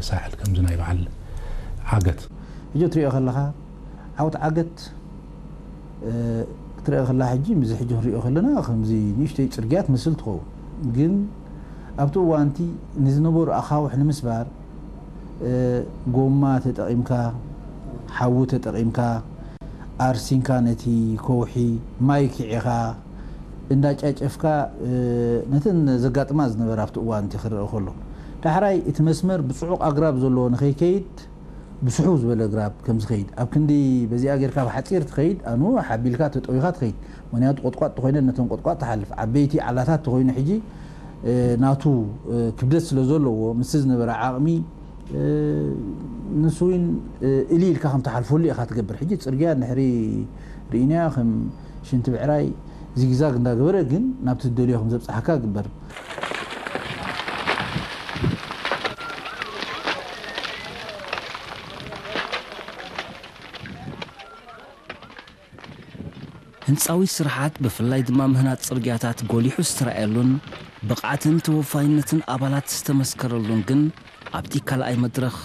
ሳሕል ከምዚ ናይ በዓል ዓገት። ሕጂ ትሪኦ ከለኻ ዓውት ዓገት፣ እ፣ ክትሪኦ ከለኻ ሕጂ ምስዚ ሕጂ ንሪኦ ከለና ከምዚ ንእሽተይ ጽርግያ ትመስል ትኸውን። ግን ኣብቲ እዋንቲ ንዝነበሩ ኣኻውሕ ንምስባር፣ እ፣ ጎማ ተጠቒምካ፣ ሓዊ ተጠቒምካ፣ ኣርሲንካ ነቲ ከውሒ ማይ ኪዒኻ እንዳጫጨፍካ፣ እ፣ ነተን ዘጋጥማ ዝነበራ ኣብቲ እዋንቲ ክረአ ከሎ፣ ዳሕራይ እቲ መስመር ብጽዑቕ ኣግራብ ዘለዎ ንኸይከይድ ብስሕው ዝበለ ኣግራብ ከም ዝኸይድ፣ ኣብ ክንዲ በዚኣ ጌርካ ብሓጺር ትኸይድ፣ ኣኑ ሓቢልካ ተጠዊኻ ትኸይድ። ምኽንያቱ ቆጥቋጥ ተኾይነ ነተን ቆጥቋጥ ትሓልፍ። ዓበይቲ ዓላታት ተኾይኑ ሕጂ፣ እ፣ ናቱ፣ እ፣ ክብደት ስለ ዘለዎ ምስቲ ዝነበረ ዓቕሚ፣ እ፣ ንሱ እውን፣ እ፣ እሊ ኢልካ ከም ትሓልፈሉ ኢኻ ትገብር። ሕጂ ጽርግያ እንድሕሪ ርኢናዮ ከም ሽንቲ ብዕራይ ዚግዛግ እንዳገበረ ግን ናብቲ ትደልዮ ከም ዘብጽሓካ ግበር። ህንጻዊ ስራሓት ብፍላይ ድማ ምህናጽ ጽርግያታት ጎሊሑ ዝተራእየሉን ብቕዓትን ተወፋይነትን ኣባላት ዝተመስከረሉን ግን ኣብቲ ካልኣይ መድረኽ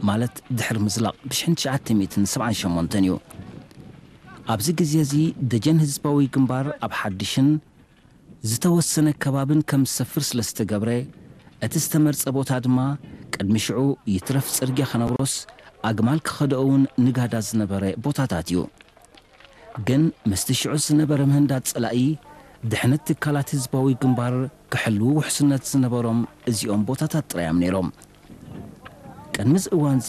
ማለት ድሕሪ ምዝላቕ ብ ትሽዓተ ሚእትን ሰብዓን ሸሞንተን እዩ። ኣብዚ ግዜ እዚ ደጀን ህዝባዊ ግንባር ኣብ ሓድሽን ዝተወሰነ ከባብን ከም ዝሰፍር ስለ ዝተገብረ፣ እቲ ዝተመርጸ ቦታ ድማ ቅድሚ ሽዑ ይትረፍ ጽርግያ ከነብሮስ ኣግማል ክኸድኦ እውን ንጋዳ ዝነበረ ቦታታት እዩ። ግን ምስቲ ሽዑ ዝነበረ ምህንዳድ ጸላኢ፣ ድሕነት ትካላት ህዝባዊ ግንባር ክሕልዉ ውሕስነት ዝነበሮም እዚኦም ቦታታት ጥራይ እዮም ነይሮም። ቅድሚ እዚ እዋንዚ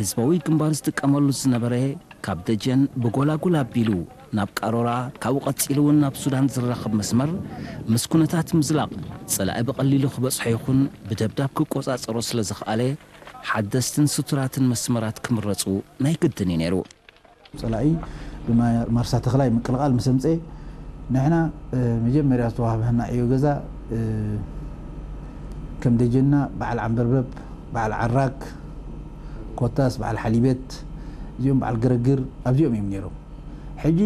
ህዝባዊ ግንባር ዝጥቀመሉ ዝነበረ ካብ ደጀን ብጎላጉል ኣቢሉ ናብ ቃሮራ፣ ካብኡ ቀጺሉ እውን ናብ ሱዳን ዝራኸብ መስመር ምስ ኩነታት ምዝላቕ ጸላኢ ብቐሊሉ ክበጽሖ ይኹን ብደብዳብ ክቆጻጸሮ ስለ ዝኸኣለ ሓደስትን ስቱራትን መስመራት ክምረጹ ናይ ግድን እዩ ነይሩ። ጸላኢ ብማርሳ ተኽላይ ምቅልቓል ምስ ኣምጸኤ ንሕና መጀመርያ ዝተዋህበና ዕዮ ገዛ ከም ደጀንና በዓል ዓንበርበብ፣ በዓል ዓራግ፣ ኮታስ በዓል ሓሊበት፣ እዚኦም በዓል ገረግር ኣብዚኦም እዮም ነይሮም። ሕጂ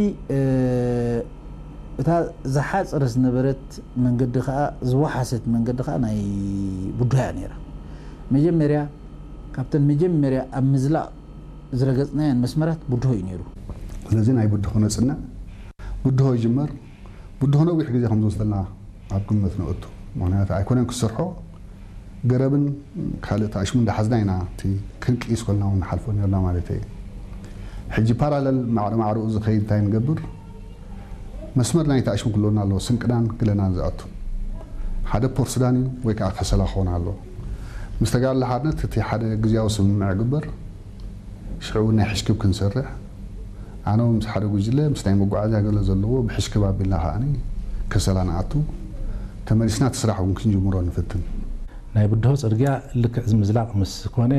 እታ ዝሓጸረት ዝነበረት መንገዲ ከኣ ዝወሓሰት መንገዲ ከኣ ናይ ቡድሆ እያ ነይራ። መጀመርያ ካብተን መጀመርያ ኣብ ምዝላቕ ዝረገጽናየን መስመራት ቡድሆ እዩ ነይሩ። ስለዚ ናይ ቡድሆ ነጽንዕ፣ ቡድሆ ይጅመር። ቡድሆ ነዊሕ ግዜ ከም ዝወስደልና ኣብ ግምት ነእቱ። ምኽንያቱ ኣይኮነን ክሰርሖ፣ ገረብን ካልእ ተኣሽሙ እንዳሓዝና ኢና እቲ ክንቅይስ ኮልና እውን ንሓልፎ ነርና ማለት እየ። ሕጂ ፓራለል ማዕረ ማዕረኡ ዝኸይድ እንታይ ንገብር? መስመር ናይ ተኣሽሙ ክህልወና ኣለዎ፣ ስንቅናን ግለናን ዝኣቱ። ሓደ ፖርት ሱዳን እዩ ወይ ከዓ ከሰላ ክኾን ኣለዎ። ምስ ተጋድሎ ሓርነት እቲ ሓደ ግዝያዊ ስምምዕ ይግበር። ሽዑ እውን ናይ ሕሽክብ ክንሰርሕ፣ ኣነ እውን ምስ ሓደ ጉጅለ ምስ ናይ መጓዓዝያ ገለ ዘለዎ ብሕሽክብ ኣቢልና ከዓኒ ከሰላ ንኣቱ፣ ተመሊስና እቲ ስራሕ እውን ክንጅምሮ ንፍትን። ናይ ብድሆ ጽርግያ ልክዕ እዚ ምዝላቕ ምስ ኮነ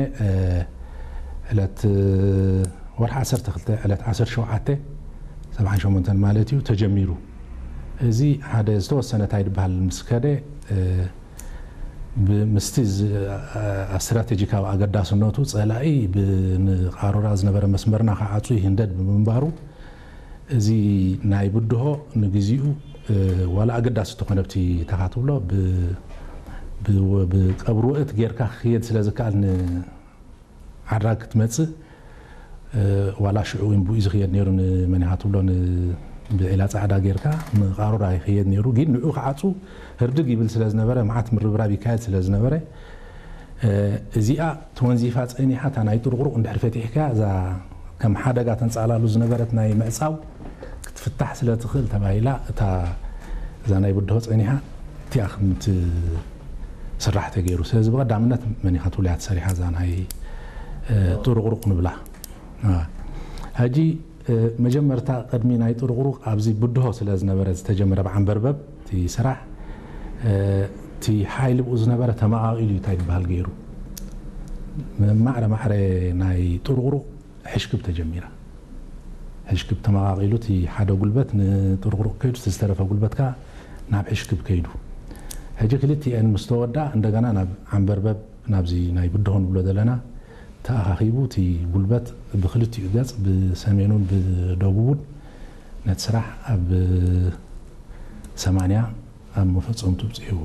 ዕለት ወርሒ ዓሰርተ ክልተ ዕለት ዓሰርተ ሸውዓተ ሰብዓን ሸሞንተን ማለት እዩ ተጀሚሩ። እዚ ሓደ ዝተወሰነ እንታይ ዝበሃል ምስ ከደ ምስቲ ስትራቴጂካዊ ኣገዳስነቱ ጸላኢ ንቃሮራ ዝነበረ መስመርና ክዓጹ ይህንደድ ብምንባሩ እዚ ናይ ብድሆ ንግዚኡ ዋላ ኣገዳሲ ተኾነብቲ ተኻትብሎ ብቀብሪ ውእት ጌርካ ክኽየድ ስለ ዝከኣል ዓድራግ ክትመጽእ ዋላ ሽዑ እውን ብኡ ዝኽየድ ነይሩ ንመን ኢኻ ትብሎ ብዒላ ጻዕዳ ጌርካ ንቃሮራ ይኽየድ ነይሩ ግን ንዑ ክዓጹ ህርድግ ይብል ስለ ዝነበረ መዓት ምርብራብ ይካየድ ስለ ዝነበረ እዚኣ ተወንዚፋ ጸኒሓ እታ ናይ ጥርቑሩቕ እንድሕር ፈቲሕካ እዛ ከም ሓደጋ ተንጻላሉ ዝነበረት ናይ ምዕጻው ክትፍታሕ ስለ ትኽእል ተባሂላ እታ እዛ ናይ ብድሆ ጸኒሓ እቲኣ ከም ትስራሕ ተገይሩ። ስለዚ ብቐዳምነት መን ኢኻ ትብሎ እያ ተሰሪሓ እዛ ናይ ጥሩቕሩቕ ንብላ። ሕጂ መጀመርታ ቅድሚ ናይ ጥሩቕሩቕ ኣብዚ ብድሆ ስለ ዝነበረ ዝተጀመረ ብዓንበርበብ እቲ ስራሕ እቲ ሓይሊ ብኡ ዝነበረ ተመቓቒሉ እዩ እንታይ ዝበሃል ገይሩ ማዕረ ማዕረ ናይ ጥሩቕሩቕ ሕሽክብ ተጀሚራ። ሕሽክብ ተመቓቒሉ እቲ ሓደ ጉልበት ንጥርቑሩቕ ከይዱ እቲ ዝተረፈ ጉልበት ከኣ ናብ ሕሽክብ ከይዱ። ሕጂ ክልቲኤን ምስ ተወድኣ እንደገና ናብ ዓንበርበብ ናብዚ ናይ ብድሆ ንብሎ ዘለና ተኣኻኺቡ እቲ ጉልበት ብክልቲኡ ገጽ ብሰሜኑን ብደቡቡን ነቲ ስራሕ ኣብ ሰማንያ ኣብ መፈጸምቱ ኣብጺሕዎ።